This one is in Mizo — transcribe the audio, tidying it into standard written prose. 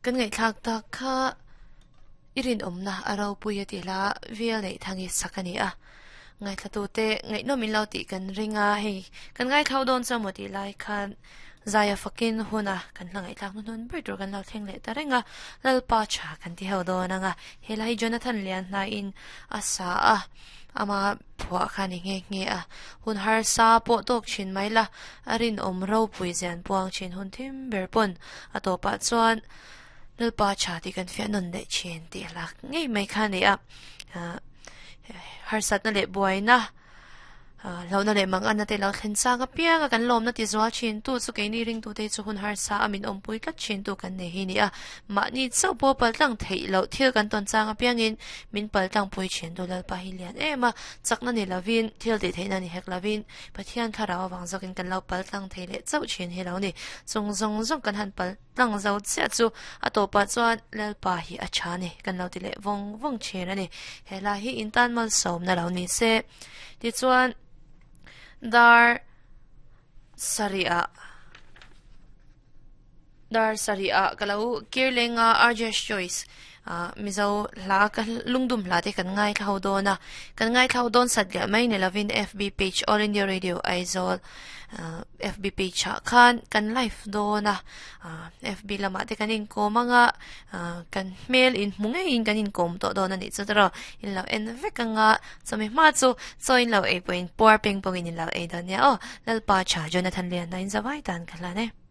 Kan ngaihthlak tak kha i rinawmna a ropui a tih hla vel neih thang hi sak a ni a. Ngaithlatute ngaihnawm in lo tih kan ring a, hei kan ngaithlau dawn chu amaw tih lai khan zaia fakin huna kan hla ngaihthlak hnuhnun ber tur kan lo thleng leh ta reng a, Lalpa tha kan ti ho dawn ang a, he hla hi Jonathan Lianhnaiin a sa a, ama phuah kha a ni nghe nghe a, hun harsa pawh tawk thin mai la, a rinawm ropui zian puang thin hun thim ber pawn a tawpah chuan Lalpa tha tih kan fiah nawn leh thin tih hlak ngei mai kha a ni a, harsatna leh buaina hlauhna leh manganna te lo thlen chang apiang a kan lawmna ti zual thin tu chu keini ringtute hi chu hun harsa a min awmpui tlat thin tu kan nei hi a ni a, mahni chauh pawh pal tlang theih loh thil kan tawn chang apiangin min pal tlang pui thin tu Lalpa hi lian em a, chakna ni lovin thil tih theihna ni hek lovin Pathian thlarau avang zawkin kan lo pal tlang thei leh chauh thin hi lo ni, chung zawng zawng kan han pal tlang zo chiah chu a tawpah chuan Lalpa hi a tha ni kan lo ti leh vawng vawng thin a ni. He hla hi in tan malsawmna lo ni se. Tichuan dar sarih ah dar sarih ah ka lo kir leng a RJ's Choice ah Mizo hla ka lungdum hla te kan ngaithla ho dawn a kan ngaithla ho dawn sat leh mai ni lovin FB page All India Radio Aizawl FB page ah khan kan live dawn a FB lamah te kan inkawm anga kan hmel inhmu ngeiin kan inkawm tawh dawn a nih chu tawrh in lo en vek anga chawmi hma chu chaw in lo ei pawhin puar peng pawhin in lo ei dawn nia aw Lalpa tha Jonathan Liana in zavai tan ka hlan e.